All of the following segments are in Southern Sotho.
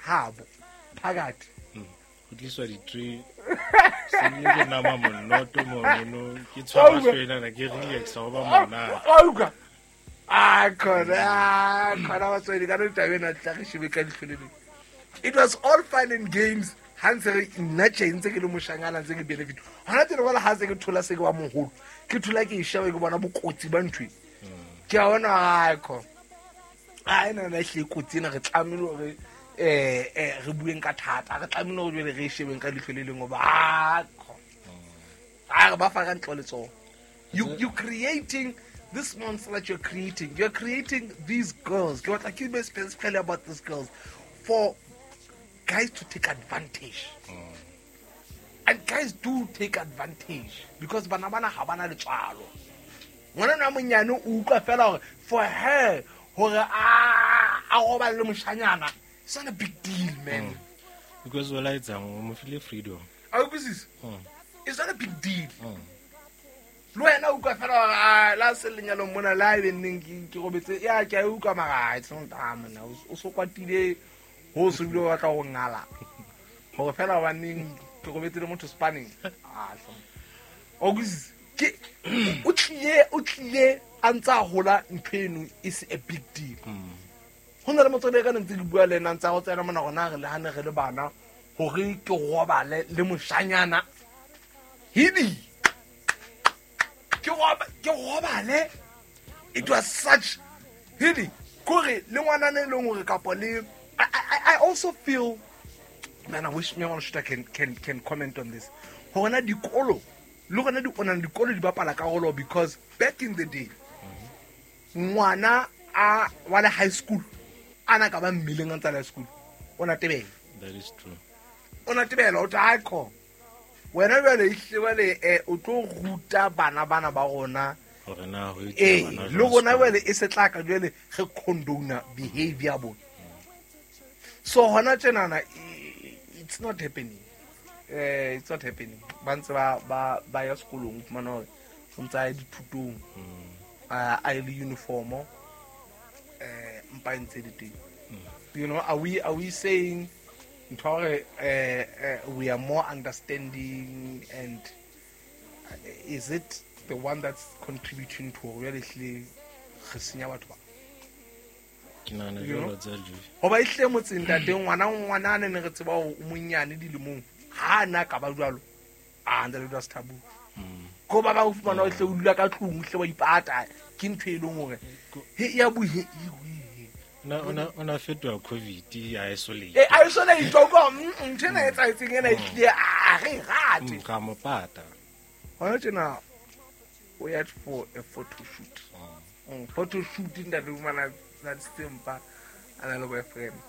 habo phakathi. Go tliswa di-tray, sebile ke nama monnoto monono, ke tshwara hlwenana, ke relaxa, go ba monate. Wa utlwa? A khona, khona batswadi ka no taba ena tla re shebe ka leihlo le leng. It was all fun and games ha ntse re nna tje ntse ke le moshanyana, ntse ke benefit. Hona tjena jwale ha se ke thola, se ke wa moholo, ke thola ke e sheba, ke bona bokotsi ba ntho e. Ke a bona, ai khona, a ena na ehlile kotsi ena, re tlamehile hore re bueng ka thata, re tlamehile hore jwale re e shebeng ka leihlo le leng, hoba a khona a re ba fa ka ntlo letsoho. You creating this monster that you're creating, you're creating these girls. Ke batla ke be specifically about these girls for guys to take advantage, and guys do take advantage because bana bana ha bana letswalo. Ngwana a monyane o utlwa fela hore for her hore a robale le moshanyana, it's not a big deal, man. Because o laetsang o mo file freedom. A utlwisisa? It's not a big deal. Le wena o utlwa fela hore a la se lenyalong mona la ebe nneng ke robetse ya ke a utlwa, mara it's not, ah monna, o so kwatile ho so bile o batla ho ngala hore fela hobaneng ke robetse le motho spanning. Ah, o utlwisisa? Ke o tlile a ntse a hola, ntho eno e se a big deal. Ho na le motswadi ka ne ntse ke bua le ena, ntse a go tsena mona gona re le hane re le bana hore ke robale le moshanyana hidi, ke robale, it was such hidi kore le ngwanana e leng hore kapo le I also feel, man, I wish me Shuta can comment on this, hore na dikolo le gona di ona dikolo di bapala karolo, because back in the day ngwana a wa le high school a na ka ba mmeleng a ntse a le high school, o na tebela. That is true. O na tebela, o tla kho wena jwale ehlile jwale o tlo ruta bana bana ba rona. Hore na ho etsa bana le jwang rona sekolong. Jwale e se tla ka jwale re condone behavior bona, so hona tjenana it's not happening, it's not happening. Ba ntse ba ya sekolong, o fumana hore o ntse a ya dithutong, a ye le uniformo, mpa e ntse le teng. Are we saying ntho ya hore we are more understanding, and is it the one that's contributing to hore jwale ehlile re senya batho ba? Ke nahana You know? jwalo tsa Joey. Hoba ehlile motseng tate, ngwana a ne re tseba hore o monyane dilemong, ha a na ka ba jwalo, a ntse le jwa taboo ko ba ba o fumana o hle o dula ka tlung, o hle wa ipata, ke ntho e leng hore he ya bui he. O na fetoha COVID isolate. Isolate ko ntho ena e etsahetseng ena ehlile a re rate. Ra mo pata. Hona tjena o ya for a photo shoot. Photo shoot, ntate, o fumana tshwantshitse mpa a na le boyfriend.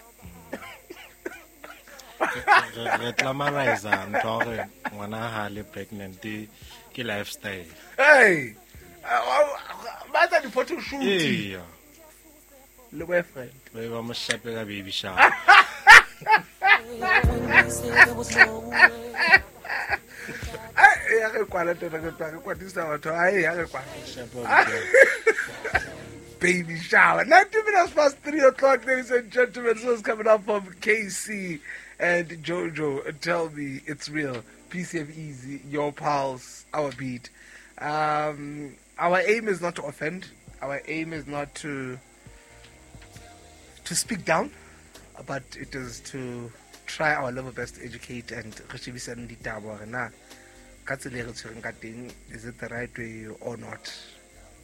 Re glamorize ntho ya hore ngwana ha le pregnant ke lifestyle. Hey, ba etsa di-photo shoot Eya. le boyfriend. Ba be ba mo shape ka baby shower. There was no way. Ai, ya re kwala tena, re tla re kwatisa batho, ai ya re kwala. Shape wa Baby shower. 90 minutes past 3 o'clock, ladies and gentlemen. This is coming up from KC and Jojo. Tell me it's real. PCF Easy, your pulse, our beat. Our aim is not to offend. Our aim is not to speak down, but it is to try our level best to educate and re shebisane ditaba hore na ka tsela e re tshwereng ka teng, is it the right way or not?